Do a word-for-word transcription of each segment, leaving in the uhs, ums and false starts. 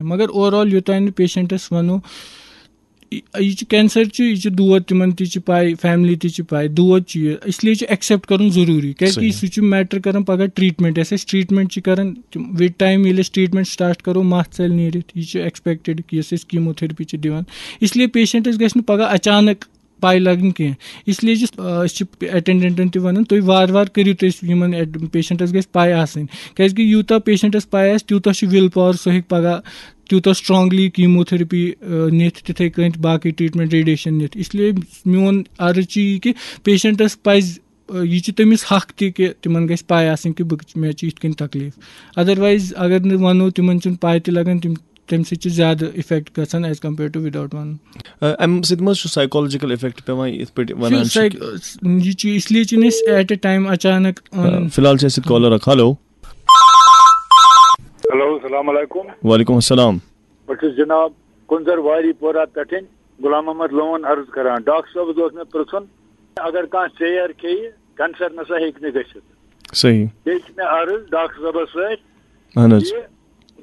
مگر over all یوٚتام نہٕ پیشنٹس ونو، یہِ یہِ چھُ کینسر چھُ، یہِ چھُ دود، تِمن تہِ چھِ پاے، فیملی تہِ چھِ پاے، دود چھُ یہِ، اس لیے چھُ ایکسپٹ کرُن ضروٗری، کیازِ کہِ صحیح۔ سُہ چھُ میٹر کران پگاہ ٹریٹمنٹ، یۄس أسۍ ٹریٹمنٹ چھِ کران، وِد ٹایم ییٚلہِ أسۍ ٹریٹمنٹ سٹارٹ کرو، مَس ژَلہِ نیٖرِتھ، یہِ چھُ ایکسپیکٹڈ کہِ یۄس أسۍ کیموتھراپی چھِ دِوان، اس لیے پیشنٹس گژھِ نہٕ پگاہ اچانک پاے لگٕنۍ کینٛہہ۔ اس لیے چھِ، آ، أسۍ چھِ اٹینڈنٹن تہِ ونان، تُہۍ وارٕ وارٕ کٔرِو، تُہۍ یِمن ایڈ-، پیشنٹس گژھِ پاے آسٕنۍ، کیازِ کہِ یوٗتاہ پیشنٹس پاے آسہِ، تیوٗتاہ چھُ وِل پاور، سُہ ہیٚکہِ پگاہ تیوٗتاہ سٹرانگلی کیموتھراپی، آ، نِتھ، تِتھے کٔنۍ باقٕے ٹریٹمنٹ، ریڈیشن نِتھ۔ اس لیے میون عرض چھُ یہِ کہِ پیشنٹس پزِ، آ، یہِ چھُ تٔمِس حق تہِ کہِ تِمن گژھِ پاے آسٕنۍ کہِ بہٕ، مےٚ چھُ یِتھ کٔنۍ تکلیف۔ ادروایز اگر نہٕ ونو، تِمن چھُنہٕ پاے تہِ لگان، تِم تمہِ سۭتۍ چھُ زیادٕ افیکٹ گژھان as compare to without ونُن۔ آ، امہِ سۭتۍ ما چھُ سایکولوجیکل افیکٹ پیوان، یِتھ پٲٹھۍ ونان چھِ؟ سایک-، یہِ چھُ اس لیے چھِنہٕ أسۍ ایٹ اے ٹایم اچانک آ، ونان۔ فی الحال چھِ اَسہِ سۭتۍ کالر اکھ۔ ہیلو۔ ہیلو، السلام علیکم۔ وعلیکم السلام۔ بہٕ چھُس جناب کُنزر واری پورہ پٮ۪ٹھٕے غلام محمد لون عرض کران۔ ڈاکٹر صٲبس اوس مےٚ پرژھُن، اگر کانٛہہ ژیر کھیٚیہِ، کینسر نسا ہیٚکہِ نہٕ گٔژھِتھ۔ صحیح۔ بیٚیہِ چھِ مےٚ عرض ڈاکٹر صٲبس سۭتۍ، اہن حظ۔ یہِ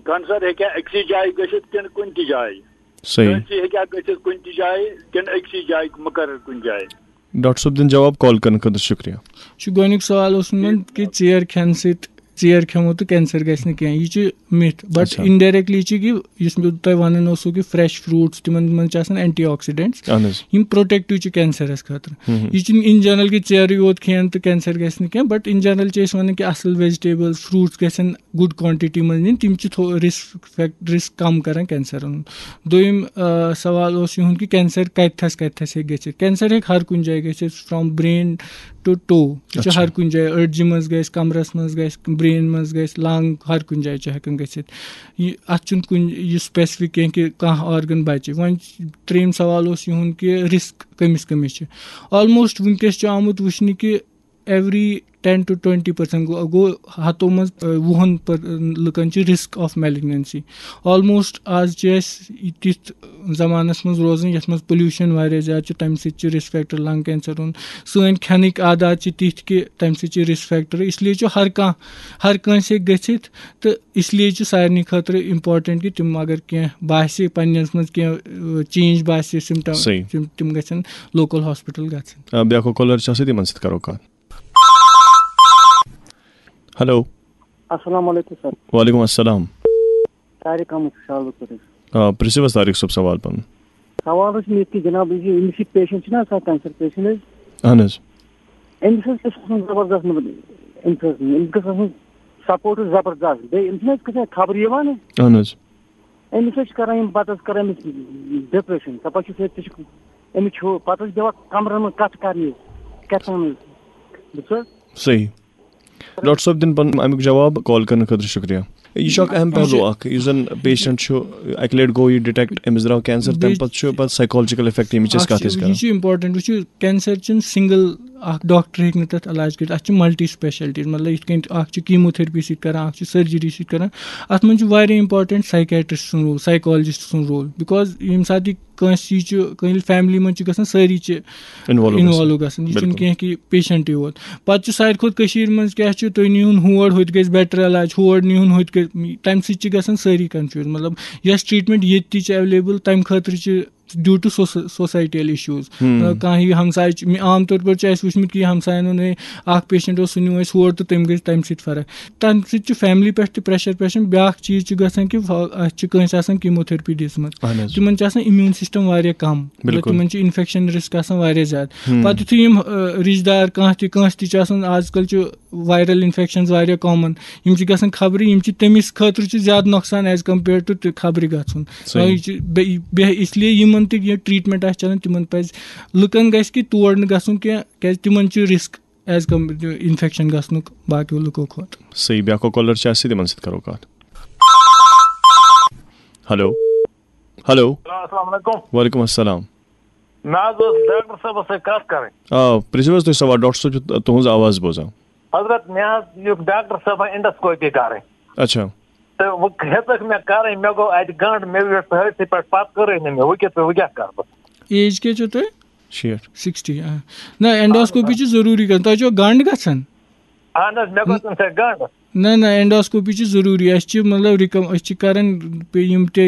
کینسر ہیٚکیٛاہ أکسٕے جایہِ گٔژھِتھ کِنہٕ کُنہِ تہِ جایہِ؟ صحیح۔ کٲنٛسہِ ہیٚکیٛاہ گٔژھِتھ کُنہِ تہِ جایہِ کِنہٕ أکسٕے جایہِ، مُقرر کُنہِ جایہِ؟ ڈاکٹر صٲب دِن جواب، کال کرنہٕ خٲطرٕ شُکریہ۔ چھُ گۄڈٕنیُک سوال اوسمُت مےٚ کہِ ژیر کھٮ۪نہٕ سۭتۍ، ژیر کھٮ۪مو تہٕ کینسر گژھِ نہٕ کینٛہہ، یہِ چھُ مِتھ، بٹ اچھا۔ انڈائریکٹلی چھُ کہِ یُس مےٚ تۄہہِ ونان اوسو کہِ فریش فروٹس، تِمن منٛز چھِ آسان اینٹی آکسیڈنٹس، اہن حظ۔ یِم پروٹیکٹو چھِ کینسرس خٲطرٕ۔ ہُم ہُم۔ یہِ چھُنہٕ ان جنرل کہِ ژیرٕے یوت کھٮ۪ن تہٕ کینسر گژھِ نہٕ کینٛہہ، بٹ ان جنرل چھِ أسۍ ونان کہِ اصل ویجیٹیبلز، فروٹس گژھن گُڈ کوانٹٹی منٛز نِنۍ، تِم چھِ تھو-، رسک فیکٹ-، رسک کم کران کینسرن ہُنٛد۔ دوٚیِم، آ، سوال اوس یِہُنٛد کہِ کینسر کتہِ تھس، کتہِ تھس ہیٚکہِ گٔژھِتھ؟ کینسر ہیٚکہِ ہر کُنہِ جایہِ گٔژھِتھ، from brain to toe۔ یہِ چھُ اچھا۔ ہر کُنہِ جایہِ، أڈجہِ منٛز گژھِ، کمرس منٛز گژھِ، برین منٛز گژھِ، لنگ، ہر کُنہِ جایہِ چھُ ہٮ۪کان گٔژھِتھ۔ یہِ، اتھ چھُنہٕ کُنہِ یہِ سپیسفک کینٛہہ کہِ کانٛہہ آرگن بچہِ۔ وۄنۍ ترٛیٚیِم سوال اوس یِہُنٛد کہِ رسک کٔمِس کٔمِس چھِ؟ آلموسٹ وٕنکیٚس چھُ آمُت وٕچھنہٕ کہِ every ten to twenty percent گوٚو، گوٚو ہتو منٛز، آ، وُہن پر-، لُکن چھِ risk of malignancy۔ Almost آز چھِ أسۍ تِتھ زمانس منٛز روزان یتھ منٛز pollution واریاہ زیادٕ چھُ، تمہِ سۭتۍ چھُ risk factor lung cancer ہُنٛد۔ سٲنۍ کھٮ۪نٕکۍ عادات چھِ تِتھۍ کہِ تمہِ سۭتۍ چھِ risk factor، اس لیے چھُ ہر کانٛہہ، ہر کٲنٛسہِ ہیٚکہِ گٔژھِتھ، تہٕ اس لیے چھُ سارنٕے خٲطرٕ important کہِ تِم اگر کینٛہہ باسہِ پننِس منٛز کینٛہہ، آ، change باسہِ، symptom، صحیح۔ تِم، تِم گژھن local hospital گژھٕنۍ۔ آ، بیٛاکھ اکھ کالر چھِ آسان، تِمن سۭتۍ کرو کتھ۔ ہیلو۔ السلام علیکم سر۔ وعلیکم السلام۔ طارق احمد چھُس حظ بہٕ کٔرِتھ۔ آ، پرٛژھِو حظ طارق صٲب سوال پنُن۔ سوال حظ چھُ مےٚ یہِ کہِ جناب، یہِ أمِس یہِ پیشنٹ چھُنہ آسان، کینسر پیشنٹ حظ؟ اہن حظ۔ أمِس حظ گژھِ آسُن زبردست، مطلب، أمِس حظ، أمِس گژھِ آسُن سپورٹ زبردست۔ بیٚیہِ أمِس چھِنہٕ حظ کُنہِ ساتہٕ خبرٕ یِوان؟ اہن حظ۔ أمِس حظ چھِ کران یِم، پتہٕ حظ کران أمِس ڈپریشن، دپان چھِ، ژےٚ تہِ چھُ، أمِس چھُ پتہٕ حظ بیٚہوان کمرن منٛز کتھ کرنہِ، کیٛاہ تام حظ۔ بوٗزتھٕ حظ؟ صحیح۔ ڈاکٹر صٲب دِن پنُن امیُک جواب، کال کرنہٕ خٲطرٕ شُکریہ۔ یہِ چھُ اکھ اہم یہِ پہلو چھُ اکھ، یُس زن پیشنٹ چھُ، اکہِ لٹہِ گوٚو یہِ ڈیٹیکٹ، أمِس درٛاو کینسر، تمہِ بیٚیہِ پتہٕ چھُ پتہٕ سایکولوجیکل افیکٹ ییٚمِچ أسۍ اکھ کتھ چھِ، ٲسۍ کران۔ یہِ چھُ امپورٹنٹ، وٕچھِو، کینسر چھُنہٕ سنگل اکھ ڈاکٹر ہیٚکہِ نہٕ تتھ علاج کٔرِتھ، اتھ چھِ ملٹی سپیشلٹیز، مطلب، یِتھ کٔنۍ اکھ چھُ کیموتھراپی سۭتۍ کران، اکھ چھُ سرجری سۭتۍ کران، اتھ منٛز چھُ واریاہ امپورٹنٹ سایکیٹرسٹ سُنٛد رول، سایکولوجسٹ سُنٛد رول، بِکاز ییٚمہِ ساتہٕ یہِ کٲنٛسہِ یہِ چھُ، کٲنٛسہِ فیملی منٛز چھِ گژھان، سٲری چھِ انوالو گژھان۔ انوالو گژھان۔ یہِ چھُنہٕ بِلکُل۔ کینٛہہ کہِ پیشنٹٕے یوت۔ پتہٕ چھُ ساروی کھۄتہٕ کٔشیٖرِ منٛز کیٛاہ چھُ، تُہۍ نِہُن ہور، ہُتہِ گژھِ بیٹر علاج، ہور نِہُن، ہُتہِ گژھِ، تَمہِ سۭتۍ چھِ گژھان سٲری کنفیوٗز۔ مطلب، یۄس ٹریٹمنٹ ییٚتہِ تہِ چھِ ایویلیبل، تَمہِ خٲطرٕ چھِ due to soci-، societal issues۔ ہُم۔ مطلب، کانٛہہ یہِ ہمسایہِ چھُ، مےٚ عام طور پر چھُ اَسہِ وٕچھمُت کہِ یہِ ہمساین ہُنٛد، ہے، اکھ پیشنٹ اوس، سُہ نیوٗ اَسہِ ہور تہٕ تٔمۍ گٔے تَمہِ سۭتۍ فرق۔ تَمہِ سۭتۍ چھُ فیملی پٮ۪ٹھ تہِ پریشر پیشن۔ بیٛاکھ چیٖز چھُ گژھان کہِ فا-، اَسہِ چھِ کٲنٛسہِ آسان کیموتھراپی دِژمٕژ۔ اہن حظ۔ تِمن چھُ آسان امیوٗن سسٹم واریاہ کم۔ مطلب، بِلکُل۔ تِمن چھُ انفیکشن رسک آسان واریاہ زیادٕ۔ ہُم۔ پتہٕ یُتھُے یِم، آ، رشتہٕ دار کانٛہہ تہِ، کٲنٛسہِ تہِ چھُ آسان، آز کل چھُ وائرل انفیکشنز واریاہ کامن، یِم چھِ گژھان خبرِ، یِم چھِ تٔمِس خٲطرٕ چھُ زیادٕ نۄقصان as compare to تہِ خبرِ گژھُن۔ صحیح۔ یہِ چھُ بیٚیہِ، بیٚیہِ اس لیے یِمن تہِ یہِ ٹریٹمنٹ آسہِ چلان، تِمن پزِ لُکن گژھِ کہِ تور نہٕ گژھُن کینٛہہ، کیازِ تِمن چھُ رسک as com-، انفیکشن گژھنُک باقیو لُکو کھۄتہٕ۔ صحیح، بیٛاکھ اکھ کالر چھِ اَسہِ سۭتۍ، تِمن سۭتۍ کرو کتھ۔ ہیلو۔ ہیلو۔ ہیلو، السلام علیکم۔ وعلیکم السلام۔ مےٚ حظ اوس ڈاکٹر صٲبس سۭتۍ کتھ کرٕنۍ۔ آ، پرٛژھِو حظ تُہۍ سوال، ڈاکٹر صٲب چھُ تُہنٛز آواز بوزان۔ حضرت، مےٚ حظ یُس ڈاکٹر صٲبن انڈوسکوپی کرٕنۍ۔ اچھا۔ تہٕ وۄنۍ ہیٚژٕکھ مےٚ کرٕنۍ، مےٚ گوٚو اتہِ گنٛڈ، مےٚ ویوٚٹھ سٲرسٕے پٮ۪ٹھ، پتہٕ کٔرٕے نہٕ مےٚ، وۄنۍ کیٛاہ، وۄنۍ کیٛاہ کرٕ بہٕ؟ ایج کیٛاہ چھو تۄہہِ؟ شیٹھ۔ سِکِسٹی، آ۔ نہ، اینڈوسکوپی چھِ ضروٗری کرٕنۍ۔ تۄہہِ چھو گنٛڈ گژھان؟ اہن حظ، مےٚ گوٚو تمہِ سۭتۍ گنٛڈ۔ نہ، نہ، اینڈوسکوپی چھِ ضروٗری۔ اَسہِ چھِ، مطلب، رِکم-، أسۍ چھِ کران یِم تہِ